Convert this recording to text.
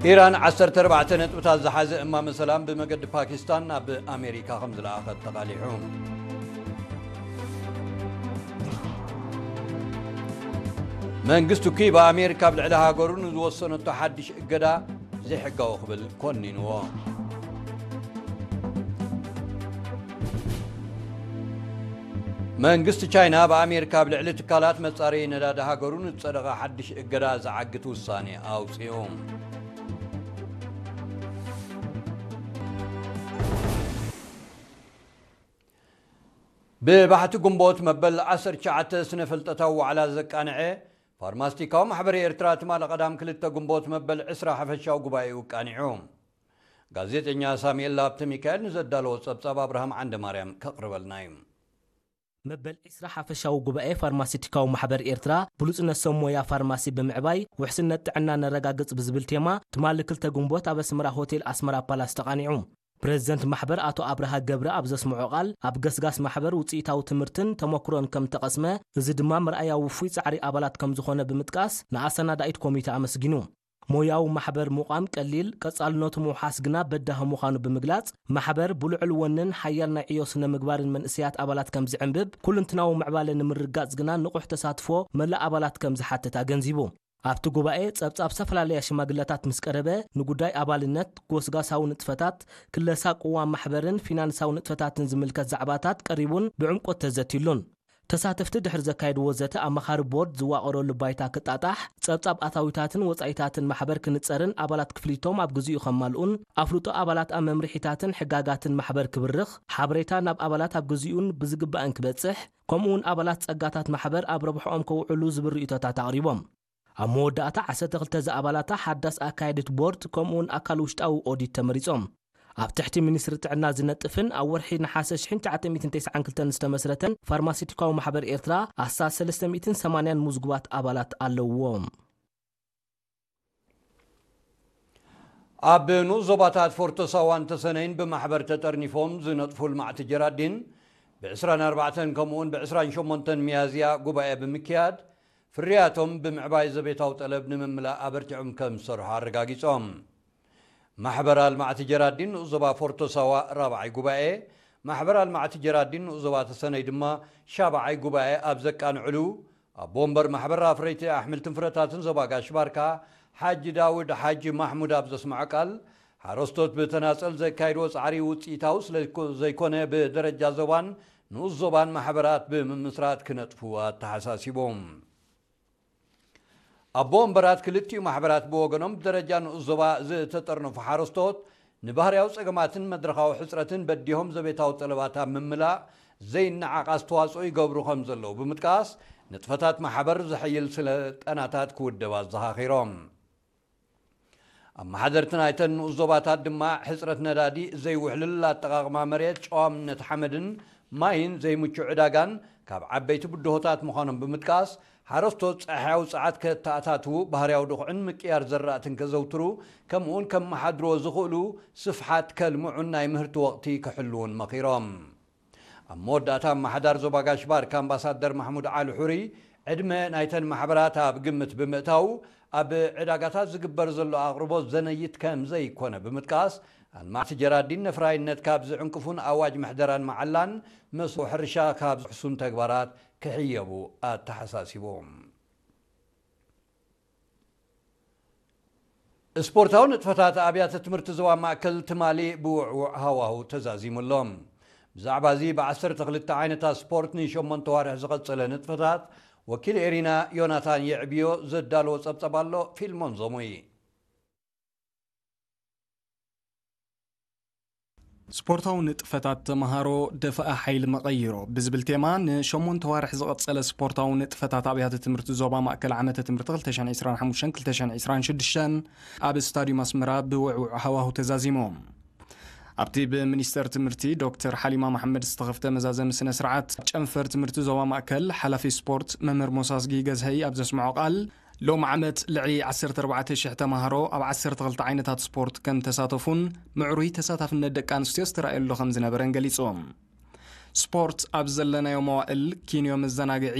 ኢራን ዓሰርተ ኣርባዕተ ነጥብታት ዝሓዘ እማመ ሰላም ብመገዲ ፓኪስታን ናብ ኣሜሪካ ከም ዝለኣኸት ተቓሊሑ። መንግስቲ ኪዩባ ኣሜሪካ ኣብ ልዕሊ ሃገሩ ንዝወሰነቶ ሓድሽ እገዳ ዘይሕጋዊ ክብል ኮኒንዎ። መንግስቲ ቻይና ብኣሜሪካ ኣብ ልዕሊ ትካላት መጻረዪ ነዳዲ ሃገሩ ንዝጸደቐ ሓድሽ እገዳ ዝዓግት ውሳኔ ኣውጺኡ። ብባሕቲ ግንቦት መበል ዓሰርተ ትሽዓተ ስነ ፍልጠታዊ ዋዕላ ዘቃንዐ ፋርማስቲካዊ ማሕበር ኤርትራ ትማሊ ቀዳም ክልተ ግንቦት መበል ዕስራ ሓፈሻዊ ጉባኤኡ ኣቃኒዑ። ጋዜጠኛ ሳሙኤል ሃብተ ሚካኤል ንዘዳለዎ ጸብጻብ ኣብርሃም ዓንደማርያም ከቕርበልና እዩ። መበል ዕስራ ሓፈሻዊ ጉባኤ ፋርማሲቲካዊ ማሕበር ኤርትራ ብሉጽነት ሰብ ሞያ ፋርማሲ ብምዕባይ ውሕስነት ጥዕና ነረጋግጽ ብዝብል ቴማ ትማሊ ክልተ ግንቦት ኣብ ኣስመራ ሆቴል ኣስመራ ፓላስ ተቓኒዑ። ፕሬዝደንት ማሕበር ኣቶ ኣብርሃ ገብረ ኣብ ዘስምዖ ቃል ኣብ ገስጋስ ማሕበር ውጽኢታዊ ትምህርትን ተመክሮን ከም ተቐስመ፣ እዚ ድማ መርኣያ ውፉይ ጻዕሪ ኣባላት ከም ዝኾነ ብምጥቃስ ንኣሰናዳኢት ኮሚተ ኣመስጊኑ። ሞያዊ ማሕበር ምቋም ቀሊል፣ ቀጻልነቱ ምውሓስ ግና በዳሂ ምዃኑ ብምግላጽ፣ ማሕበር ብልዑል ወንን ሓያል ናይ ዕዮ ስነ ምግባርን መንእሰያት ኣባላት ከም ዝዕንብብ፣ ኩልንትናዊ ምዕባለ ንምርግጋጽ ግና ንቑሕ ተሳትፎ መላእ ኣባላት ከም ዝሓትት ኣገንዚቡ። ኣብቲ ጉባኤ ጸብጻብ ዝተፈላለያ ሽማግለታት ምስ ቀረበ፣ ንጉዳይ ኣባልነት፣ ጎስጋሳዊ ንጥፈታት፣ ክለሳ ቅዋም ማሕበርን ፊናንሳዊ ንጥፈታትን ዝምልከት ዛዕባታት ቀሪቡን ብዕምቆት ተዘትዩሉን። ተሳተፍቲ ድሕሪ ዘካየድዎ ዘተ፣ ኣማኻሪ ቦርድ ዝዋቐረሉ ባይታ ክጣጣሕ፣ ጸብጻብ ኣታዊታትን ወጻኢታትን ማሕበር ክንጸርን ኣባላት ክፍሊቶም ኣብ ግዚኡ ከማልኡን፣ ኣፍልጦ ኣባላት ኣብ መምርሒታትን ሕጋጋትን ማሕበር ክብርኽ፣ ሓበሬታ ናብ ኣባላት ኣብ ግዚኡን ብዝግባእን ክበጽሕ፣ ከምኡውን ኣባላት ጸጋታት ማሕበር ኣብ ረብሕኦም ከውዕሉ ዝብል ርእይቶታት ኣቕሪቦም። ኣብ መወዳእታ፣ ዓሰርተ ክልተ ዝኣባላታ ሓዳስ ኣካየዲት ቦርድ ከምኡውን ኣካል ውሽጣዊ ኦዲት ተመሪጾም። ኣብ ትሕቲ ሚኒስትሪ ጥዕና ዝነጥፍን ኣብ ወርሒ ነሓሰ ሽሕን ትሽዓተ ሚእትን ተስዓን ክልተን ዝተመስረተን ፋርማሲቲካዊ ማሕበር ኤርትራ ኣስታት ሰለስተ ሚእትን ሰማንያን ምዝጉባት ኣባላት ኣለውዎ። ኣብ ንኡስ ዞባታት ፎርቶ ሳዋን ተሰነይን ብማሕበር ተጠርኒፎም ዝነጥፉ ልማዕቲ ጀራዲን ብዕስራን ኣርባዕተን ከምኡውን ብዕስራን ሸሞንተን ሚያዝያ ጉባኤ ብምክያድ ፍርያቶም ብምዕባይ ዘቤታዊ ጠለብ ንምምላእ ኣበርቲዖም ከም ዝሰርሑ ኣረጋጊጾም። ማሕበር ኣልማዕቲ ጀራዲን ንኡስ ዞባ ፎርቶ ሳዋ ራብዓይ ጉባኤ፣ ማሕበር ኣልማዕቲ ጀራዲን ንኡስ ዞባ ተሰነይ ድማ ሻብዓይ ጉባኤ ኣብ ዘቃንዕሉ፣ ኣቦ ወንበር ማሕበር ኣፍረይቲ ኣሕምልትን ፍረታትን ዞባ ጋሽ ባርካ ሓጂ ዳውድ ሓጂ ማሕሙድ ኣብ ዘስምዖ ቃል፣ ሓረስቶት ብተናጸል ዘካይድዎ ጻዕሪ ውጽኢታዊ ስለ ዘይኮነ ብደረጃ ዞባን ንኡስ ዞባን ማሕበራት ብምምስራት ክነጥፉ ኣተሓሳሲቦም። ኣቦ ወንበራት ክልቲኡ ማሕበራት ብወገኖም ብደረጃ ንኡስ ዞባ ዝተጠርነፉ ሓረስቶት ንባህርያዊ ጸገማትን መድረኻዊ ሕጽረትን በዲሆም ዘቤታዊ ጠለባት ኣብ ምምላእ ዘይነዓቕ ኣስተዋጽኦ ይገብሩ ከም ዘለዉ ብምጥቃስ፣ ንጥፈታት ማሕበር ዘሐይል ስልጠናታት ክውደብ ኣዘኻኺሮም። ኣመሓደርቲ ናይተን ንኡስ ዞባታት ድማ ሕጽረት ነዳዲ፣ ዘይውሕልል ኣጠቓቕማ መሬት፣ ጨዋምነት ሓመድን ማይን ዘይምቹእ ዕዳጋን ካብ ዓበይቲ ብድሆታት ምዃኖም ብምጥቃስ፣ ሓረስቶት ጸሓያዊ ጸዓት ከተኣታትዉ፣ ባህርያዊ ድኹዕን ምቅያር ዘራእትን ከዘውትሩ፣ ከምኡውን ከመሓድርዎ ዝኽእሉ ስፍሓት ከልምዑን ናይ ምህርቲ ወቕቲ ክሕልዉን መኺሮም። ኣብ መወዳእታ ኣመሓዳሪ ዞባ ጋሽ ባርካ ኣምባሳደር ማሕሙድ ዓሊ ሑሪ፣ ዕድመ ናይተን ማሕበራት ኣብ ግምት ብምእታው፣ ኣብ ዕዳጋታት ዝግበር ዘሎ ኣቕርቦት ዘነይት ከም ዘይኮነ ብምጥቃስ፣ ኣልማዕቲ ጀራዲን ነፍራይነት ካብ ዝዕንቅፉን ኣዋጅ ምሕደራን መዓላን መስኖ ሕርሻ ካብ ዝሕሱን ተግባራት ክሕየቡ ኣተሓሳሲቦም። ስፖርታዊ ንጥፈታት ኣብያተ ትምህርቲ ዞባ ማእከል ትማሊ ብውዕዉዕ ሃዋሁ ተዛዚሙ ኣሎ። ብዛዕባ እዚ ብዓሰርተ ክልተ ዓይነታት ስፖርት ንሸሞንተ ዋርሕ ዝቐጸለ ንጥፈታት፣ ወኪል ኤሪና ዮናታን የዕብዮ ዘዳለዎ ጸብጸብ ኣሎ። ፊልሞን ዞሙይ። ስፖርታዊ ንጥፈታት ተመሃሮ ደፈኣ ሓይሊ መቐይሮ ብዝብል ቴማ ንሸሞንተ ዋርሕ ዝቐጸለ ስፖርታዊ ንጥፈታት ኣብያተ ትምህርቲ ዞባ ማእከል ዓመተ ትምህርቲ ክልተ ሽሕን ዕስራን ሓሙሽተን ክልተ ሽሕን ዕስራን ሽዱሽተን ኣብ ስታዲዩም ኣስመራ ብውዕውዕ ሃዋሁ ተዛዚሙ። ኣብቲ ብሚኒስተር ትምህርቲ ዶክተር ሓሊማ መሓመድ ዝተኸፍተ መዛዘሚ ስነ ስርዓት፣ ጨንፈር ትምህርቲ ዞባ ማእከል ሓላፊ ስፖርት መምህር ሞሳዝጊ ገዝሀይ ኣብ ዘስምዖ ቃል፣ ሎም ዓመት ልዕሊ ዓሰርተ ኣርባዕተ ሽሕ ተማሃሮ ኣብ ዓሰርተ ክልተ ዓይነታት ስፖርት ከም ተሳተፉን ምዕሩይ ተሳታፍነት ደቂ ኣንስትዮ ዝተራእየሉ ከም ዝነበረን ገሊጹ። ስፖርት ኣብ ዘለናዮ መዋእል ኪንዮ መዘናግዒ